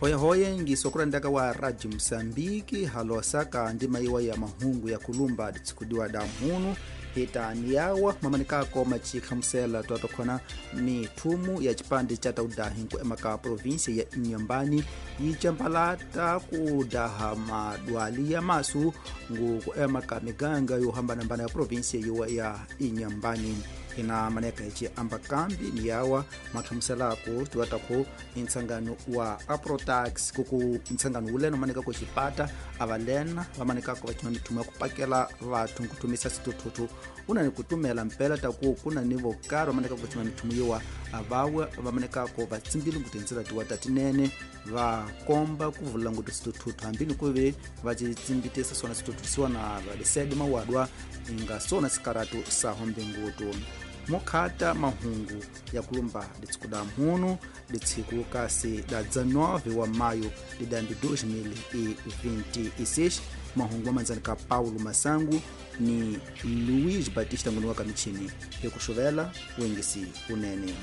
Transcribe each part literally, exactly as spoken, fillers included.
Hoyehoye ngisokurandaka wa Radio Msambiki halosaka ndima iwa ya mahungu ya kulumba ditsikudiwa da mhunu hitaniyawa mamanikako machikhamusela twatokhona mithumu ya chipande cha taudahi nkuema provinsia ya Inhambane yichambalata kudaha madwali ya masu ngu kuema ka miganga yohambanambana ya provinsia yiwa ya Inhambane. Ina maneka ichi amba kambi ni yawa makhamuselako tuwatako intsangano wa Aprotax kuku intsangano ulena maneka kuchipata avalena vamanekako vachima mithumu ya kupakela vathu nkuthumisa situthuthu una ni kutumela mpela taku kuna ni vokaro vamaneka kuchima mithumu yiwa avawe vamanekako vatsimbile nkutintsela tiwa tatinene vakomba kuvula ngutu situthuthu hambini kuve vacitsimbitisa sona situthuthu siwana valisedi mawadwa inga sona sikaratu sahombe ngutu. Mokhata mahungu ya kulumba litsiku da mhunu litsiku kasi da dezenove wa maio de dois mil e vinte e seis. Mahungu amanzani ka Paulo Masangu ni Luiz Batista nguniwa kamichini ekuxuvela wengisi unene.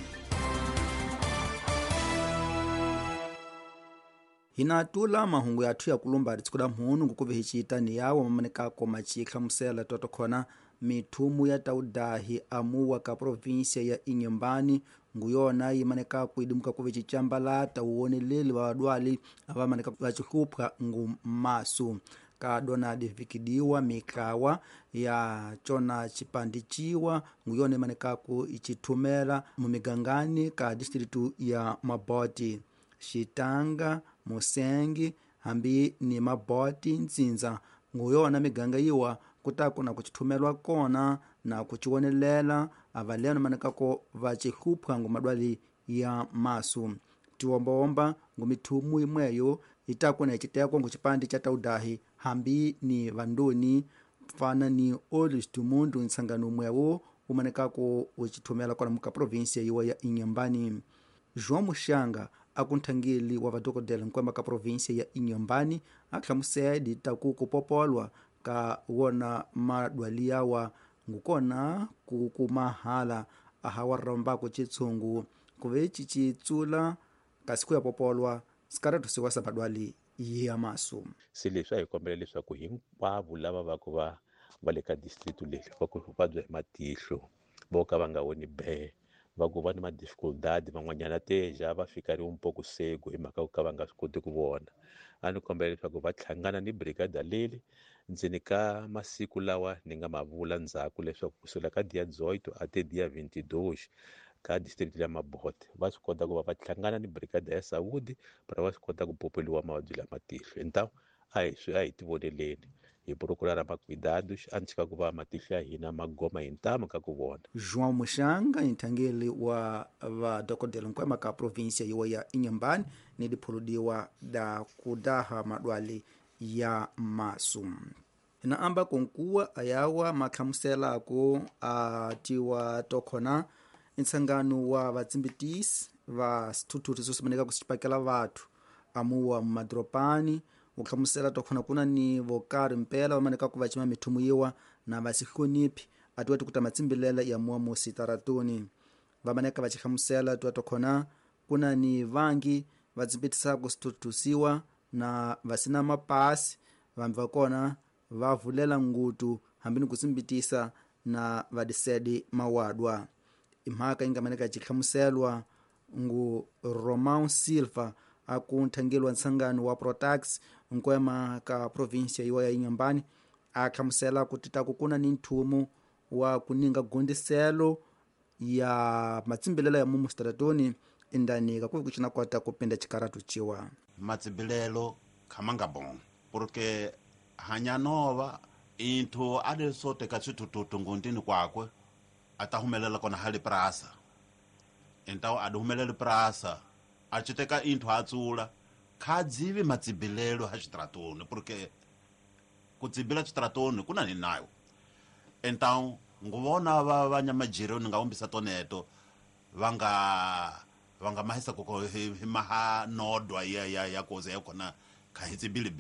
Hinatula mahungu yathu ya kulumba litsiku da mhunu ngukuve hiciita ni yawo mamanekako machikhamusela twatokhona mithumu ya taudahi amuwa ka provinsia ya Inhambane nguyona yimaneka kuidimuka kuve chichambalata uwoneleli wa wadwali avamaneka vachihlupha ngu masu ka Donald vikidiwa mikawa ya chona chipandichiwa nguyona imanekaku ichithumela mumigangani ka distritu ya Maboti, Xitanga, Musengi hambi ni Maboti Ntsinza nguyona miganga yiwa kutaku na kuchithumelwa kona na kuchiwonelela avaleno manekako vachihlupha ngu madwali ya masu. Tiwombawomba ngu mithumu imweyo itaku na ichiteko ngu chipandi cha taudahi hambi ni vandoni fana ni Olhos do Mundo ntsangano mwewo umanekako uchithumela kona muka provinsia yiwa ya Inhambane. João Muxanga akunthangeli wa vadokodela nkwemba ka provinsia ya Inhambane ahlamusedi taku kupopolwa ka wona madwali yawa ngukona kukumahala ahawarrombako chitsungu kuve chichitsula kasi kuya popolwa sikaratu siwasa madwali ya masu. Se leswi a hi kombela leswaku hinkwavo lava va ku va va le ka district leyi va ku vabya hi matihlo vo ka va nga voni be va ku va ni ma-dificuldade van'wanyana teja va fika ri un poco cego hi mhaka ku ka va nga swi koti ku vona. A ni kombela leswaku va hlangana ni brigada leli ndzeni ka masiku lawa ni nga ma vula ndzhaku leswaku kusukela ka dia dezoito até dia vinte e dois ka district ya Mabote va swi kota ku va va hlangana ni brigada ya saúde para va swi kota ku popeliwa mavabyi lama matihlo. Então a hi swi a hi tivoneleni hi procurar macuidados antes ka ku va matihlo ya hina ma goma hi ntamu ka ku vona. João Muxanga nthangeli wa vadokodela nkwema ka provinsia yiwa ya Inhambane ni diphuludiwa da kudaha madwali ya masu. Na amba konkuwa ayawa makhamuselako atiwa tokhona ntsangano wa vatsimbitisi va sithuthuthu sosimaneka kusipakela vathu amuwa mumadropani ukhamusela tokhona kuna ni vokari mpela vamaneka ku vacima mithumu yiwa na vasihloniphi atiwa tikuta matsimbilela ya muwa musitaratuni. Vamaneka vachikhamusela tiwa tokhona kuna ni vangi vatsimbitisaku sithuthusiwa na vasina mapasi vambi vakona vavulela ngutu hambi ni kutsimbitisa na vadisedi mawadwa. Imhaka ingamaneka chikhamuselwa ngu Romão Silva akunthangelwa ntsangano wa Protax nkwema ka provinsia yiwa ya Inhambane akhamusela kuti taku kuna ni nthumu wa kuninga gondiselo ya matsimbilela ya mumu stratoni indani kakuvi kuchina kwata kupinda chikaratu chiwa matsimbilelo khamanga bon porque hanyanova inthu ade sote ka swithuthuthu ngundini kwakwe ata humelela kona hali prasa então ade humelele prasa a chiteka inthu atsula khadzivi matsibilelo ha xitratoni porque ku tsibila xitratoni kuna ni nayo então nguvona va vanyamajiro ni nga umbisa toneto va nga va nga mahisa koko hi maha nodwa ya ya ya koze ya kona kha hi tsibili be.